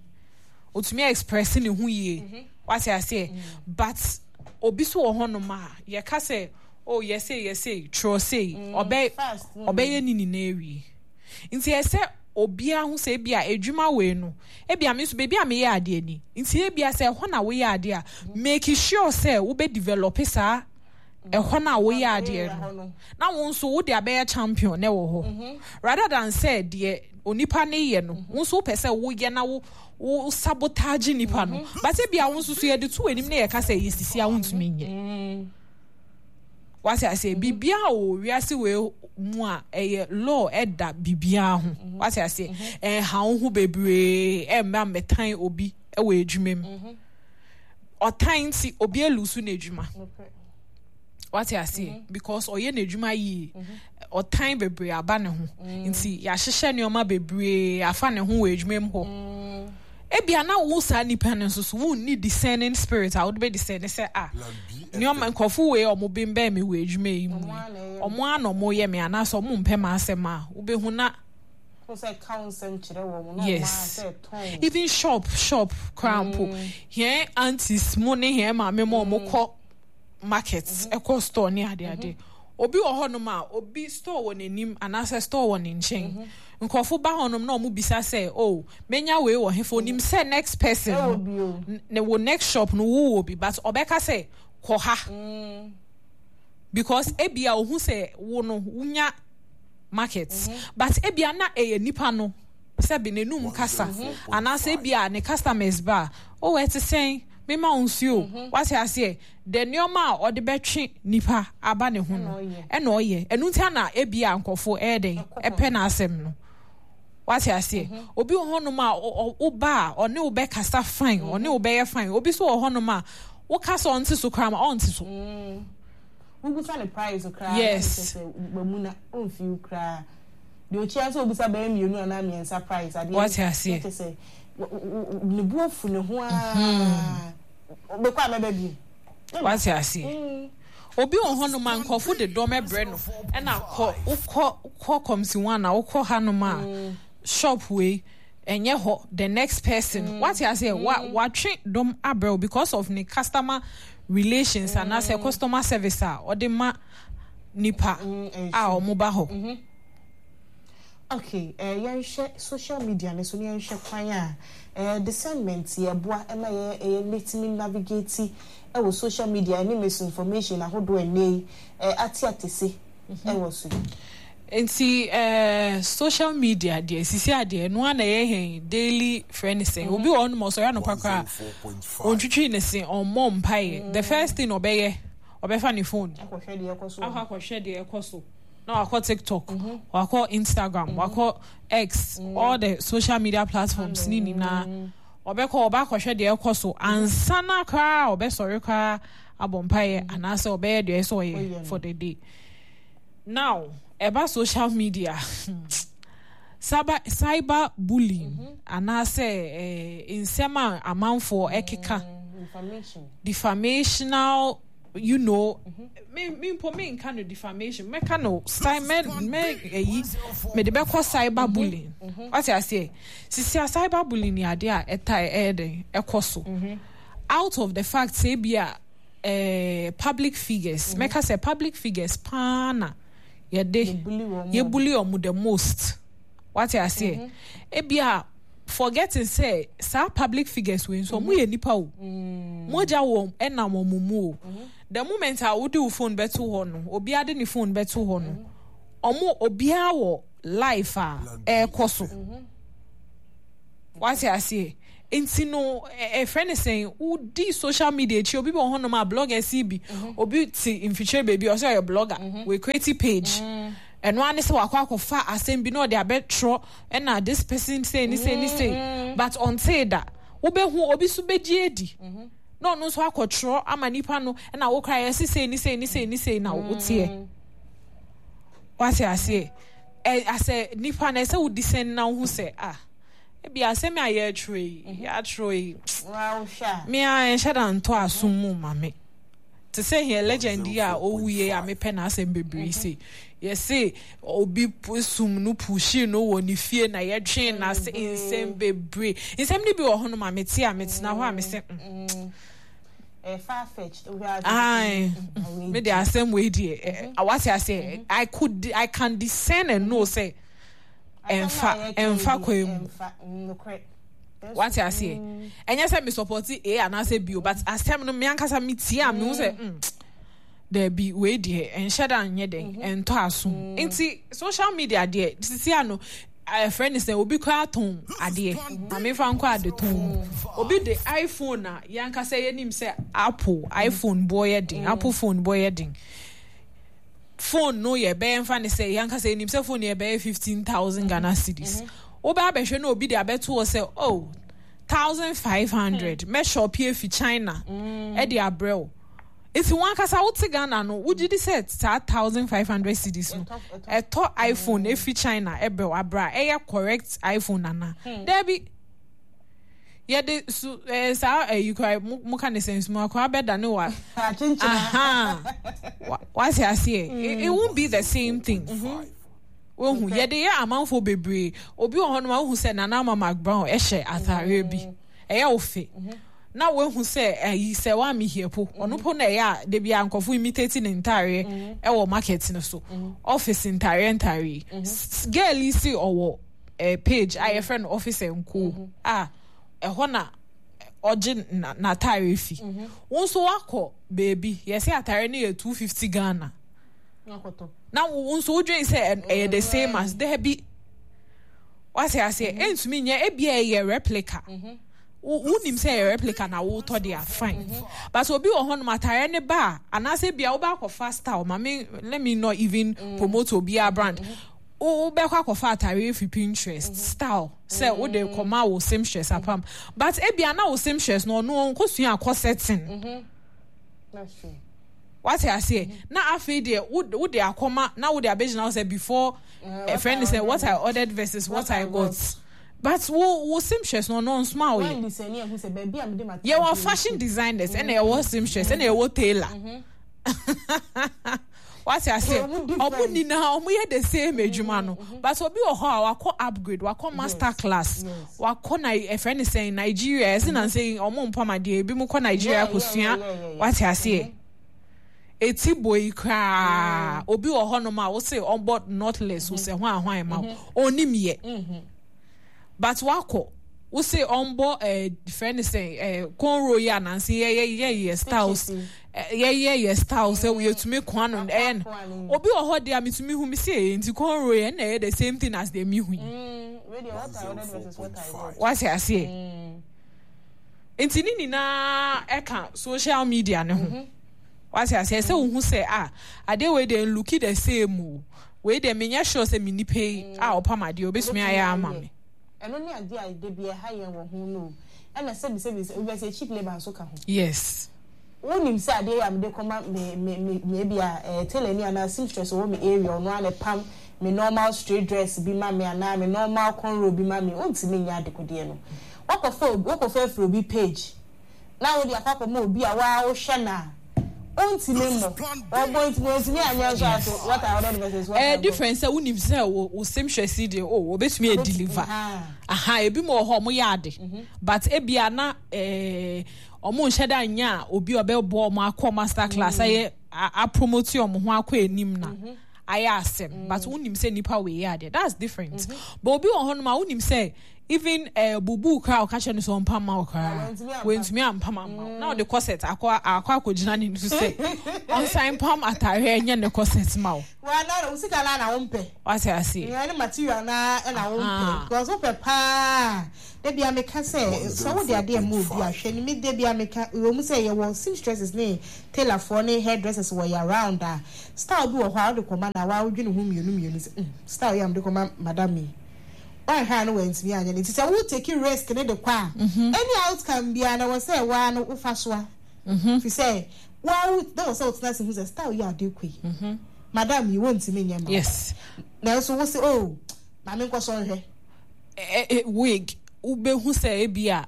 [SPEAKER 3] otumi express ne ho yie. Wate aseɛ? But obi nso wɔ hɔnom a yɛka sɛ, oh, yɛsei yɛsei twerɛ sei, ɔbɛ
[SPEAKER 1] Fast. Mm.
[SPEAKER 3] ɔbɛyɛ ne nyinaa awie. Nti ɛsɛ obiara ho sɛ ebia edwuma wei no, ebia me nso beebi a meyɛ adeɛ ni, nti ebia sɛ ɛhɔ na woyɛ adeɛ a, make sure sɛ wobɛ develop saa ɛhɔ na woyɛ adeɛ no na wo nso wode abɛyɛ champion na ɛwɔ hɔ, rather than sɛ deɛ onipa ne yɛ no, wo nso wopɛ sɛ woyɛ na wo wo sabotage nipa no. But ebia wo nso so yɛde to anim na yɛka sɛ yɛ sisi a, wontumi nyɛ. Wate aseɛ? Biribiara wɔ wiase wei mu a ɛyɛ law ɛda biribiara ho. Wate aseɛ? Ɛnha wo ho bebree ɛmma mmɛtan obi ɛwɔ adwuma mu. Ɔtan nti obi elose n'adwuma. Wate aseɛ? Because ɔyɛ n'adwuma yie, ɔtan bebree aba ne ho nti yɛahyehyɛ nneɛma bebree afa ne ho wɔ adwuma mu hɔ. Ebia na wo saa nipa no nso so wonni discerning spirit a wode bɛ discern sɛ, ah, nneɛma nkurɔfo wei a ɔmo bɛn me wɔ adwuma yi mu yi, ɔmo ara na ɔmo yɛ me anaasɛ ɔmo mpɛ m'asɛm a wobɛhu na yes, even shop shop koraa mpo, hɛn aunties mu ne hɛn maame mu a ɔmo kɔ market, ɛkɔ store ne adeade, Obi wɔ hɔnom a obi store wɔ n'anim anaasɛ store wɔ ne nkyɛn, nkurɔfo ba hɔnom na ɔmo bisa sɛ, "Oh, menya wei wɔ hefa?" Onim sɛ next person
[SPEAKER 1] ɛwɔ
[SPEAKER 3] no
[SPEAKER 1] bi o.
[SPEAKER 3] n- ne wo next shop no wowɔ bi, but ɔbɛka sɛ kɔ ha because ebia ohu sɛ wo no wonya market, but ebia na ɛyɛ nipa no sɛbi n'enum kasa anaasɛ ebia ne customers ba, "Oh, ɛte sɛn? Mema wo nsuo." Wate aseɛ? The nneɛma a ɔde bɛtwe nipa aba ne ho no
[SPEAKER 1] ɛna ɔyɛ.
[SPEAKER 3] Ɛna ɔyɛ ɛnu nti ana ebia nkɔfo ɛyɛ dɛn
[SPEAKER 1] ɛkɔ hɔ.
[SPEAKER 3] Ɛpɛ n'asɛm no. Wate aseɛ? Obi wɔ hɔnom a ɔ- ɔ- woba a ɔne wo bɛkasa fine, ɔne wo bɛyɛ fine. Obi nso wɔ hɔnom a wokasa ɔnte so koraa ma ɔnte so.
[SPEAKER 1] Wobusa ne price koraa.
[SPEAKER 3] Yes.
[SPEAKER 1] Na kyerɛ sɛ wamu na ɔmfi koraa deɛ okyia sɛ obisa bɛyɛ mmienu anaa mmiɛnsa price adeɛ.
[SPEAKER 3] Wate aseɛ.
[SPEAKER 1] Na kyerɛ sɛ w- w- w- ne bu afu ne ho aa bɛkɔ a mɛbɛ bi.
[SPEAKER 3] Wate aseɛ? Obi wɔ hɔnom a nkɔfo de dɔm ɛbrɛ no, ɛna kɔ wokɔ kɔ kɔmsi one a wokɔ hanom a shop wei ɛnyɛ hɔ, the next person. Wate aseɛ? Wa watwe dɔm abrɛ wo because of ne customer relations anaasɛ customer service a ɔde ma nipa a ɔmo ba hɔ.
[SPEAKER 1] Okay, eh, yɛnhwɛ social media ne so ne yɛnhwɛ kwan a eh, discernment yɛboa ɛma yɛ ɛyɛ mɛtumi navigate ɛwɔ social media ɛne misinformation ahodoɔ ɛnɛ yi eh, ate atese ɛwɔ so yi.
[SPEAKER 3] Nti eh, social media deɛ, sisi adeɛ no a na ɛyɛ hɛn daily friend sɛn, obi wɔ hɔnom a ɔsɔre anɔpa koraa, ɔntwitwi ne se, ɔmmɔ mpaeɛ, the first thing ɔbɛyɛ, ɔbɛfa ne phone
[SPEAKER 1] akɔhwɛ deɛ ɛkɔ so wɔ
[SPEAKER 3] akɔ akɔhwɛ deɛ ɛkɔ so, na wakɔ TikTok, wakɔ Instagram, wakɔ X, all the social media platforms ne nyinaa ɔbɛkɔ, ɔbɛ akɔhwɛ deɛ ɛkɔ so ansa na koraa ɔbɛsɔre koraa abɔ mpaeɛ anaasɛ ɔbɛyɛ deɛ ɛsɛ
[SPEAKER 1] ɔyɛ
[SPEAKER 3] ɔyɛ
[SPEAKER 1] no.
[SPEAKER 3] For the day. Now ɛba social media, cyber cyber bullying anaasɛ eh, nsɛm a amanfoɔ ɛkeka,
[SPEAKER 1] Mm, information
[SPEAKER 3] defamational, you know me me mpo me nka no defamation, mɛka no cy mɛ mɛ ɛyi mɛde bɛkɔ cyber bullying. Wate aseɛ? Sisi a cyber bullying ni adeɛ a ɛta ɛyɛ den ɛkɔ so out of the fact sɛ ebi a ɛɛ public figures, mɛka sɛ public figures paa na yɛde
[SPEAKER 1] yɛbully wɔn.
[SPEAKER 3] Yɛbully ɔmo the most. Wate aseɛ? Ebi a forgetting sɛ saa public figures wei nso ɔmo yɛ nipa o, mogya wɔ ɛnam ɔmo mu o. The moment a wode wo phone bɛto hɔ no, obiara de ne phone bɛto hɔ no, ɔmo obiara wɔ life a ɛɛkɔ so. Wate aseɛ? Nti no ɛfrɛ ne sɛn, wodi social media akyi, obi wɔ hɔnom a bloggers yi bi, obi te mfikyire baabi a ɔsɛ ɔyɛ blogger, wɔ create page, ɛno ara ne sɛ wakɔ akɔfa asɛm bi na ɔde abɛtwerɛ, ɛna this person say ne say ne say, but ɔntee da. Wobɛhu obi so bɛgye adi na ɔno nso akɔtwerɛ ama nipa no, ɛna wokora yɛse sei ne sei ne sei ne sei na woteɛ. Wate aseɛ? Ɛ asɛ nipa na ɛsɛ wodi sɛn na wohu sɛ, ah, ebi asɛm a yɛatwerɛ yi, yɛatwerɛ yi,
[SPEAKER 1] wa wohwɛ a
[SPEAKER 3] me a ɛnhyɛ da ntɔ asom mu ma me te sɛ hɛn legend yi a ɔwuie a mepɛ n'asɛm bebree se yɛse obi pu- sum no pushi no wɔ ne fie na yɛtwe n'ase, nsɛm bebree, nsɛm no bi wɔ hɔnom a mete a metena hɔ a mese mm,
[SPEAKER 1] ɛyɛ far fetched wohwɛ a
[SPEAKER 3] Aye.
[SPEAKER 1] Mm,
[SPEAKER 3] Me de asɛm wei deɛ ɛ, ɛ, wate aseɛ? I could I can discern and know sɛ ɛmfa ɛmfa kwan mu.
[SPEAKER 1] Ɛmfa mm, nokorɛ.
[SPEAKER 3] Wate aseɛ? Ɛnyɛ sɛ me support A anaasɛ B o, but asɛm no me ankasa me tie a mehu sɛ mm, daabi, wei deɛ ɛnhyɛ da nyɛ den ɛntɔ aso. Nti social media deɛ, sisi ano ɛfrɛ ne sɛ obi koraa tɔn adeɛ, maame fa nkɔ ade tɔn mu, obi de iPhone a yɛankasa yɛnim sɛ Apple iPhone boɔ yɛ den, Apple phone boɔ yɛ den, phone no yɛ bɛyɛ nfa ne sɛ yɛankasa yɛnim sɛ phone yɛ bɛyɛ fifteen thousand Ghana cedis, wobɛ abɛhwɛ na obi de abɛto hɔ sɛ, "Oh, thousand five hundred mɛship efi China ɛde abrɛ wo." Nti wɔn ankasa wote Ghana no, wogye di sɛ saa thousand five hundred cedis no
[SPEAKER 1] Ɛtɔ- ɛtɔ.
[SPEAKER 3] ɛtɔ iPhone efi China ɛbrɛ wo abrɛ a ɛyɛ correct iPhone nana? Dɛbi, yɛde su ɛɛ saa ɛyi kora mo mo ka ne sɛ nsuma kora bɛda ne wa
[SPEAKER 1] Akyenkyena.
[SPEAKER 3] Aha, Wa- wate aseɛ? it, it won't be the same thing. Wohu yɛde yɛ amanfoɔ bebree. Obi wɔ hɔnom a wohu sɛ Nana Ama McBrown ɛhyɛ ataareɛ bi, ɛyɛ wo fe. Na woahu sɛ ayi sɛ woame hia po ɔno po na ɛyɛ a da bia nkɔfo imitate ne ntareɛ ɛwɔ market no so, office ntareɛ ntareɛ yi. S- girl yi si ɔwɔ eh, page a yɛfrɛ no Office and Co a ɛhɔ na ɔgye na- n'atareɛ fi. Wo nso wakɔ beebi, yɛsɛ atareɛ no yɛ two fifty Ghana, na wo nso wodwen sɛ ɛ- ɛyɛ the same as. Daabi, wase aseɛ, ɛntumi nyɛ. Ebia ɛyɛ replica. Wo- wonim sɛ ɛyɛ replica na wotɔ de a, fine, but obi wɔ hɔnom, atareɛ ne ba a, anaasɛ bia wobɛ akɔfa style ma me, let me not even promote obiara brand. Wo wobɛkɔ akɔfa atareɛ fi Pinterest style sɛ wode kɔma wo seamstress apam, but ebia na wo seamstress no, ɔno ɔnkɔsua akɔ setting.
[SPEAKER 1] That's true.
[SPEAKER 3] Wate aseɛ? Na afei deɛ wode wode akɔma na wode abɛgyina hɔ sɛ before
[SPEAKER 1] Uh,
[SPEAKER 3] a friend sɛ what I ordered versus what I got, but wo wo seamstress no, ɔno nsoma wo yɛ.
[SPEAKER 1] When the sɛ ɛhu sɛ baabi a mede ma
[SPEAKER 3] Yɛwɔ fashion designers, ɛna yɛwɔ seamstress, ɛna yɛwɔ tailor. Wate aseɛ?
[SPEAKER 1] Ɔmo different.
[SPEAKER 3] Ɔmo nyinaa ɔmo yɛ the same adwuma no, but obi wɔ hɔ a wakɔ upgrade, wakɔ master class,
[SPEAKER 1] yes.
[SPEAKER 3] wakɔ na ɛfrɛ ne sɛn, Nigeria, ɛsɛ na nsɛn ɔmo mpam adeɛ, ebi mo kɔ Nigeria
[SPEAKER 1] Yeah, yeah,
[SPEAKER 3] kosua.
[SPEAKER 1] yeah, yeah, yeah.
[SPEAKER 3] Wate aseɛ? Eti boi koraa, obi wɔ hɔnom a wose ɔbɔ knotless, wosɛ ho ahwan ma wo, onim yɛ, but wakɔ wose ɔmbɔ ɛɛ frɛ ne sɛn, ɛɛ cornrow yi anansi yɛ yɛ yɛ yɛ styles.
[SPEAKER 1] Stitches.
[SPEAKER 3] Yɛ yɛ yɛ styles sɛ yɛtumi kwan no, ɛyɛ no. Obi wɔ hɔ deɛ a mitumi hu mi si ɛyɛ nti cornrow yɛ, ɛna ɛyɛ the same thing as deɛ mi hu yi.
[SPEAKER 1] Mm, wei deɛ, what I ordered versus what I got.
[SPEAKER 3] Wate aseɛ? Nti ne nyinaa ɛka social media ne ho. Wate aseɛ sɛ wohu sɛ a adeɛ wei deɛ look the same o, wei deɛ menyɛ sure sɛ me nipa yi a ɔpam adeɛ obɛtumi ayɛ ama me.
[SPEAKER 1] Ɛno ne adeɛ a de bi ɛha yɛn wɔ ho no, ɛna sɛbi sɛbi sɛ obi sɛ cheap labour nso ka ho.
[SPEAKER 3] Yes
[SPEAKER 1] wonim sɛ adeɛ yi a mede kɔma me me me me ebi a ɛɛ tailor ni anaa seamstress wɔ me area, ɔno ara na pam me normal straight dress bi ma me anaa me normal cornrow bi ma me, ontumi nyɛ adekodeɛ no. Wakɔfa obi, wakɔfa afiri obi page na wode akɔ akɔma obi a waa wohwɛ na ontumi mmɔ, ɔbɔ ntumi, ontumi anyɛ nso aso what I ordered versus what I
[SPEAKER 3] ɛɛ
[SPEAKER 1] got.
[SPEAKER 3] Difference sɛ wonim sɛ wo wo seamstress yi deɛ o, obɛtumi adeliver.
[SPEAKER 1] Aha.
[SPEAKER 3] Aha, ebi mu wɔ hɔ ɔmo yɛ ade, but ebi ana ɛɛ ɔmo nhyɛ da nya a obi a ɔbɛbɔ ɔmo akɔ master class, ayɛ a apromote ɔmo ho akɔ anim na ayɛ asɛm, but wonim sɛ nipa wei yɛ adeɛ, that's different. But obi wɔ hɔnom a wonim sɛ even ɛɛ bubu koraa, ɔka kyerɛ no sɛ ɔmpam ma wo koraa,
[SPEAKER 1] Wantumi ampam.
[SPEAKER 3] Wantumi ampam ama wo, na ɔde corset akɔ akɔ akɔgyina ne so sɛ ɔnsan pam ataare ɛnyɛ ne corset ma wo.
[SPEAKER 1] Wa na wo sika na na wo mpɛ.
[SPEAKER 3] Wate aseɛ?
[SPEAKER 1] Nea ne material na ɛna wo mpɛ.
[SPEAKER 3] Aha.
[SPEAKER 1] Because wopɛ paa, debi a meka sɛ sɛ wode adeɛ ma obi ahwɛ ne mi, debi a meka wɔ mu sɛ yɛwɔ seamstresses ne tailorfoɔ ne hairdressers wɔ yɛ around a, style bi wɔ hɔ a wode kɔma na waa wodwene ho mmienu mmienu sɛ mm style yi a mede kɔma madam yi, wanhwɛ a no wantumi anyɛ no. Nti sɛ wo take risk ne de kɔ a, any outcome biara na wɔ sɛ waa no wofa so a fi sɛ waa wo na wɔ sɛ wotena ase hu sɛ style yi a ade kɔ yi, madam yi wɔntumi nyɛ ma wo.
[SPEAKER 3] Yes
[SPEAKER 1] nanso wo sɛ, oh, maame nkɔ so nhwɛ.
[SPEAKER 3] ɛ ɛ wig, wobɛhu sɛ ebi a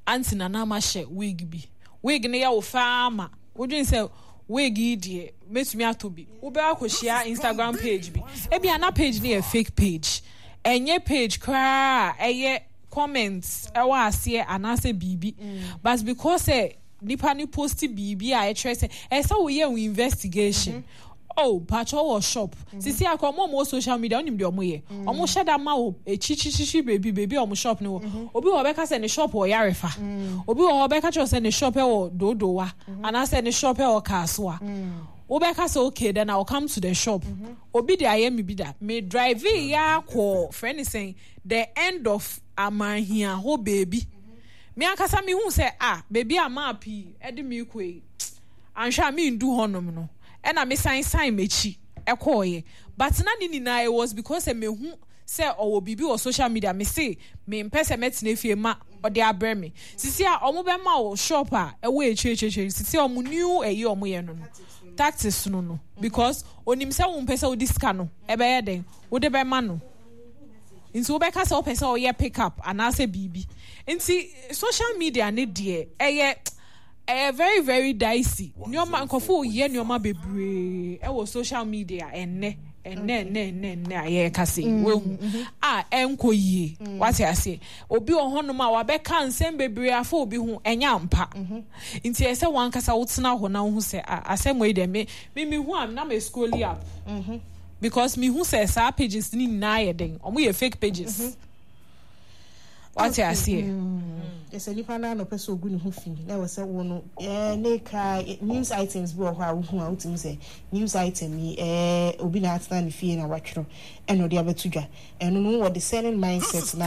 [SPEAKER 3] aunty Nana ama hyɛ wig bi, wig no yɛ wo faa ma wodwen sɛ wig yi deɛ mɛtumi atɔ bi. Wobɛ akɔhyia Instagram page bi, ebi ana page no yɛ fake page, ɛnyɛ page koraa a ɛyɛ comments ɛwɔ aseɛ anaasɛ biribi, but because sɛ nipa no post biribi a ɛkyerɛ sɛ ɛsɛ woyɛ wo investigation. Oh, patro wɔ shop sisi akɔ, ɔmo a ɔmo wɔ social media, ɔnim deɛ ɔmo yɛ. Ɔmo hyɛ da ma wo ekyikyikyi beebi beebi a ɔmo shop no wɔ. Obi wɔ hɔ ɔbɛka sɛ ne shop wɔ Yarefa, obi wɔ hɔ ɔbɛka kyerɛ sɛ ne shop ɛwɔ Dodowa anaasɛ ne shop ɛwɔ Kasoa. Wobɛka sɛ okay, then I will come to the shop. Obi de ayɛ mi bi da, me drive ya akɔ frɛ ne sɛn, the end of Amahia hɔ beebi. Me ankasa mi hu sɛ ah, beebi a map yi ɛde mi kɔ yi, anhwɛ a mi ndu hɔnom no, ɛna me san san m'akyi ɛkɔɔyɛ. But na ne nyinaa it was because sɛ mehu sɛ ɔwɔ biribi wɔ social media, me se me mpɛ sɛ mɛtena fie ma ɔde abrɛ me. Sisi a ɔmo bɛma wo shop a ɛwɔ akyire akyire akyire, sisi a ɔmo new ɛyi ɔmo yɛ no no tactics no no because onim sɛ wo mpɛ sɛ wode sika no ɛbɛyɛ den wode bɛma no, nti wobɛka sɛ wopɛ sɛ ɔyɛ pick up anaasɛ biribi. Nti social media ne deɛ, ɛyɛ ɛyɛ very very dicey. Nneɛma nkɔfo yɛ nneɛma bebree ɛwɔ social media ɛnnɛ. Ɛnɛ ɛnɛ ɛnɛ ɛnɛ a yɛreka sɛ wehu a ɛnkɔ yie, wate aseɛ? Obi wɔ hɔnom a wabɛka nsɛm bebree afa obi ho, ɛnyɛ ampa. Nti ɛsɛ wankasa wotena hɔ na wohu sɛ a asɛm wei deɛ, me me me hu a na me scroll up because me hu sɛ saa pages ni nyinaa yɛ den, ɔmo yɛ fake pages, wate aseɛ?
[SPEAKER 1] Ɛsɛ nipa naa na ɔpɛ sɛ ogu ne ho fi na ɛwɔ sɛ wo no ɛɛ ne kra news items bi wɔ hɔ a wohu a wotumi sɛ news item yi, ɛɛ obi na atena ne fie na watwerɛ ɛna ɔde abɛto dwa. Ɛno no wɔ discerning mindset na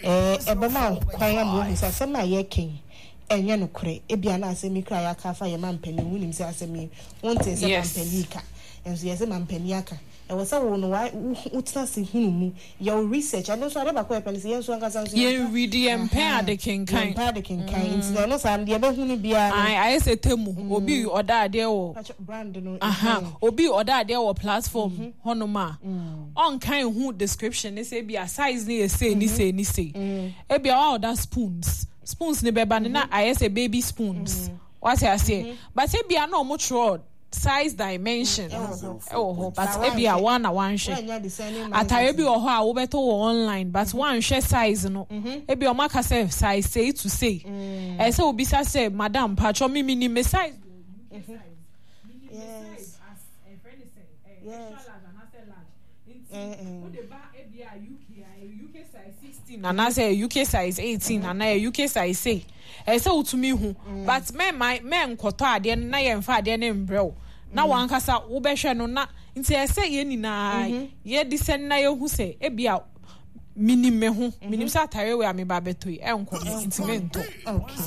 [SPEAKER 1] ɛɛ ɛbɛma wo kwan ama wohu sɛ asɛm a yɛka yi ɛnyɛ nokorɛ. Ebia na asɛm yi kra yɛaka afa yɛ ma mpanin, wonim sɛ asɛm yi wonte sɛ
[SPEAKER 3] Yes.
[SPEAKER 1] mampanin ka, nso yɛsɛ mampanin aka. Ɛwɔ sɛ wo no wa wotena se hunu mu, yɛ wo research. Ɛno nso ade baako a yɛpɛ no sɛ yɛn nso ankasa nso
[SPEAKER 3] yɛn read, yɛn mpɛ ade kenkan.
[SPEAKER 1] Yɛmpɛ ade kenkan, nti na ɛno saa no deɛ ɛbɛhu no biara no.
[SPEAKER 3] Ayi, ayɛ sɛ Temu, obi ɔda adeɛ wɔ
[SPEAKER 1] Pakyɛ, brand no.
[SPEAKER 3] Aha.
[SPEAKER 1] Ɛhɛn.
[SPEAKER 3] Obi ɔda adeɛ wɔ platform hɔnom a ɔnkan hu description ne sɛ ebi a size ne yɛ sei ne sei ne sei. Ebi a wa ɔda spoons spoons ne bɛba ne na ayɛ sɛ baby spoons, wate aseɛ? But ebi a na ɔmo twerɛ size dimension
[SPEAKER 1] Ɛwɔ hɔ.
[SPEAKER 3] ɛwɔ hɔ, but
[SPEAKER 1] But
[SPEAKER 3] ebi a
[SPEAKER 1] wanhwɛ.
[SPEAKER 3] one na wanhwɛ.
[SPEAKER 1] Woanya discerning
[SPEAKER 3] Atare
[SPEAKER 1] mindset.
[SPEAKER 3] bi wɔ hɔ a wobɛtɔ wɔ online, but wanhwɛ size no. Ebi ɔmo aka sɛ size sei to sei, ɛsɛ obisa sɛ, "Madam, patwɔ, mi mi ni me size."
[SPEAKER 1] Yes. Yes. Eh, eh.
[SPEAKER 3] Anaasɛ U K size eighteen anaa U K size sei, ɛsɛ wotumi hu. But mɛma mɛnkɔtɔ adeɛ no na yɛmfa adeɛ no mbrɛ wo na wankasa wobɛhwɛ no. Na nti ɛsɛ yɛn nyinaa yɛde sɛ na yɛhu sɛ ebi a minim me ho, minim sɛ atare wei a meba abɛtɔ yi ɛnkɔ me, nti mentɔ.
[SPEAKER 1] okay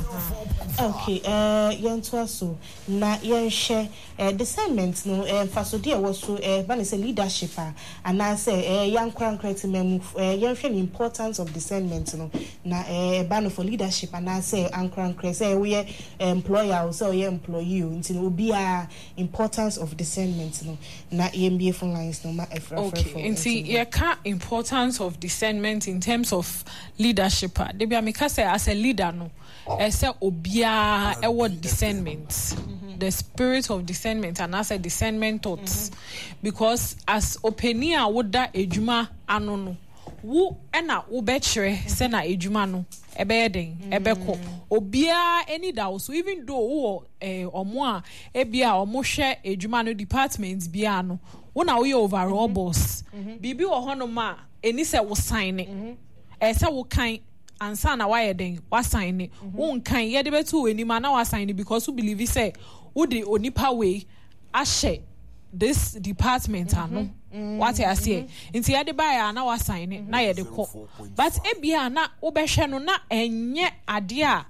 [SPEAKER 1] okay uh, yɛntoa so na yɛnhwɛ uh, discernment no, uh, mfasodeɛ a ɛwɔ so, uh, ba ne sɛ leadership a anaasɛ uh, yɛankorankora te ma mu. uh, yɛnhwɛ the importance of discernment no na uh, ɛba no for leadership anaasɛ ankorankora, sɛ woyɛ employer o, sɛ woyɛ employee o, nti no obiara, importance of discernment no, na yɛmbie phone lines no ma ɛfrɛfrɛfo.
[SPEAKER 3] Okay, nti yɛka importance of discernment in terms of leadership a, debi a meka sɛ as a leader no, ɛsɛ obiara ɛwɔ discernment, the spirit of discernment anaasɛ discernment thoughts, because as opanin a woda edwuma ano no, wo ɛna wobɛkyerɛ sɛ na edwuma no ɛbɛyɛ den, ɛbɛkɔ. Obiara ani da wo so, even though wowɔ ɛɛ ɔmo a ebi a ɔmo hwɛ edwuma no department biara no, wo na woyɛ overall boss. Biribi wɔ hɔnom a ɛni sɛ wo sign ne, ɛsɛ sɛ wo kan ansa na wayɛ den wasign ne. Wonkan, yɛde bɛto wɔ anim a na wasign ne, because wo believe sɛ wode onipa wei ahyɛ this department ano, wate aseɛ? Nti yɛde baeɛ a na wasign ne na yɛde kɔ. But ebia na wobɛhwɛ no na ɛnyɛ adeɛ a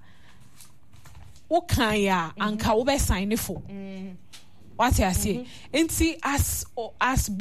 [SPEAKER 3] wokan a anka wobɛsign ne fo, wate aseɛ? Nti as as boss